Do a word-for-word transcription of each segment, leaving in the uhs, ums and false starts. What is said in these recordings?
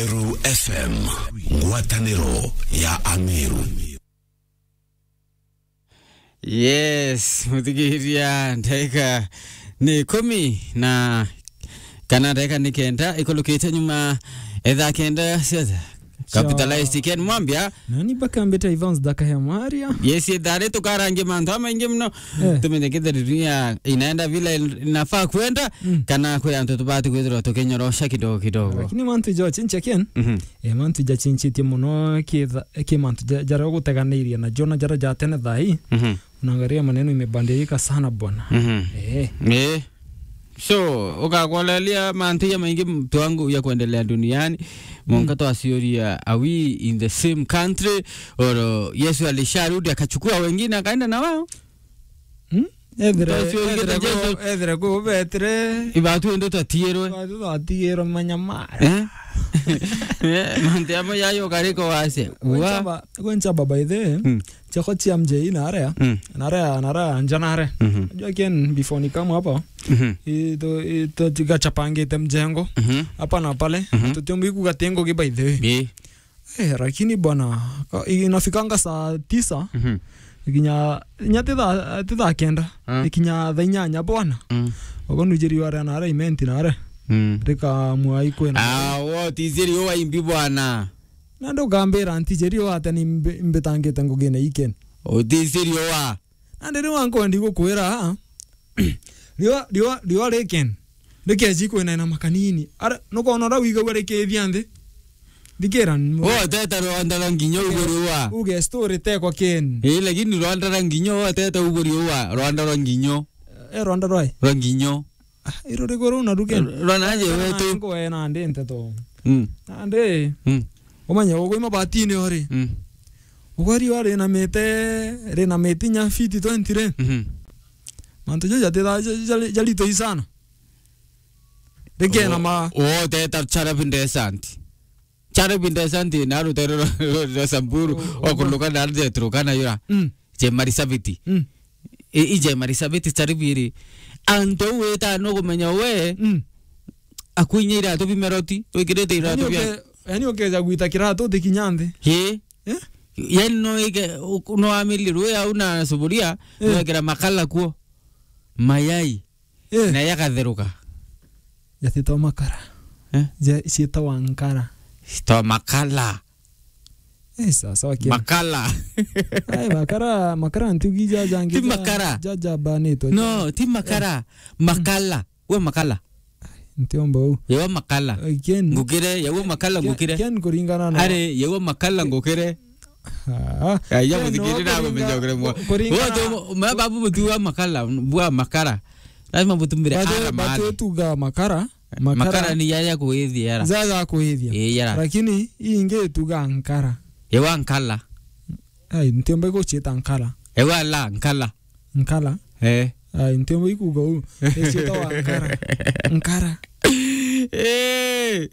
Meru F M, ngwataniro ya Ameru. Yes, muthikiria, ndagika ni ikumi na kana ndagika ni kenda ikulukite nyuma etha kenda cia capitalized. Ken Mwambia. Nani bakambite Evans Dakaya Maria? Yes, ithari tukarangia mantu amaingi muno. Eh. Tumenye kethira dunia inaenda vile inafaa kwenda, mm, kana kwi antu tubati kwithirwa tukinyorosha kidogo kidogo. Lakini mantu jo chinche Ken. Mhm. Eh, mantu jachinchitie muno kitha-, ki mantu ja-, jaria guteganiirie na jo na jaria ja tene thaa ii. Mhm. Unaangalia maneno imebadilika sana bwana. Mhm. Eh. Eh. So, ukakuolelia mantu ya maingi mtu wangu ya kuendelea duniani. Monka, mm, twasiuria, are we in the same country? Or, uh, Yesu alisharudi akachukua wengine akaenda na wao? Hmm? Ethire, twasiuria ethire ku-, Yesu, ethire ku betire. Ibatu ende twatiirwe. Ibatu twatiirwe manyamara. Eh? Eh, mantu amwe yayo kariko wase. Gwenchaba, gwenchaba by the way. Hmm. Chako chia mjei na area. Mm. Na area, na area, nja na area. Mhm. Unajua Ken, before ni kama hapa. Mhm. Ito, ito tiga chapangite mjengo. Mhm. Hapa na pale. Mhm. Tutiombi kugatengo ki by the way. Ii. Eh, lakini bwana, ka-, inafikanga saa tisa. Mhm. Ikinya, inya titha, titha kenda. Ah. Ikinya thaa inyanya bwana. Mm. Ogo nujiri ware na area imenti na area. Mm. Rika mwai kwena. Ah, what is it you imbi bwana? Na ndukambira ntijeri o ate ni mbi-, mbitangite ngugine iken. Utisirio wa. Na ndi riu ankondi gukwira, riwa, riwa, riwa riken. Rikeji kwina na makanini. Ara, nukona ura wigagua rikithia nthi. Ndikira n-, wo teta rwanda rwa nginyo uge riwa. Uge story tekwa ken. Eh, lakini rwanda rwa nginyo, wo teta uge riwa, rwanda rwa nginyo. Eh, rwanda rwai? Rwa nginyo. Ah, iro riko ruu na ruke. Rwa naje wetu. Ngo ena ndi nteto. Mm. Nandi. Mm. Umanye ugwe mabatini ori. Mm. Ugwe riwa rinamite, rinamite nya fiti twenty ri. Mhm. Mantu jo jatitha, ja-, ja-, jalito isana. Rikena ma. O, o, teta charabi ndesant. Charabi ndesant na rutere rwa, rwa, rwa Samburu, o, o, okunduka na nze Turkana yura. Mm. Jemari Saviti. Mm. I, i Jemari Saviti Saribiri. Antu au wita no kumenya we, mm, akuinya iratu bimeroti, wikirite iratu bia. Uke-, yani ukeja gwita kiratu utikinya nthi. Ii. Eh? Yani no ike, u-, no amili rwe au na suburia, eh, wekira makala kuo. Mayai. Eh. Na yakatheruka. Jatitwa makara. Eh? Ja-, ciitagwa nkara. Ciitagwa makala. Eh, sawa, sawa, kia. Makala. Ai, makara, makara ntugi ja jangi. Ti ja, makara. Ja, ja banitwe. No, ti makara. Eh. Makala. We makala. Ntiomba u. Yewa makala. Ai, Ken. Ngukire, yewa makala Ken, ngukire. Ken kuringana na. Are, yewa makala ngukire. Ah, ai, ya Ken, muthikiri na kuringa-, kumenyogere mwa. Ku-, kuringana. Wote, ma babu mutu wa makala, bwa makara. Lazima mutumire. Batu, ara batu mali. Tuga makara. Makara. Makara ni yaya kuithia yara. Zaza kuithia. Ii, yara. Lakini ii ingi tuga nkara. Yewa nkala. Ai, ntiomba guchita nkala. Yewa la, nkala. Nkala. Eh. Ai, ntiomba ikuga u. Echita wa nkara. Nkara. Eh,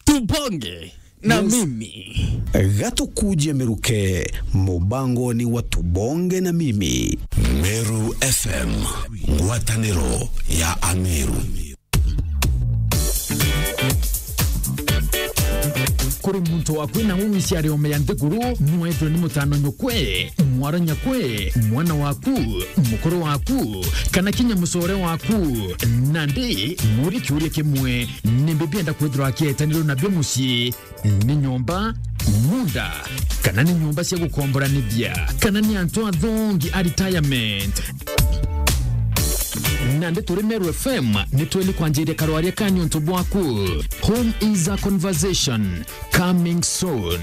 tubonge na, yes, mimi. Gatukuje miruke, mubangoni wa tubonge na mimi. Meru F M, ngwataniro ya Ameru. Kuri muntu wakwina ng'u wiciari ome ya nthiguru, nwaitwe ni mutano nyukwe, mwaro nyakwe, mwana waku, mukuru waku, kana kinya mucore waku. Nandi, muri kiuria kimwe, nimbi bienda kwithirwa akietanirwe nabio mucii? Ni nyomba, munda, kana ni nyomba cia gukomboranithia, kana ni antu athongi a retirement? Nandi turi Meru F M, ni tweli kwanjiria karwaria ka niuntu bwaku. Home is a conversation, coming soon.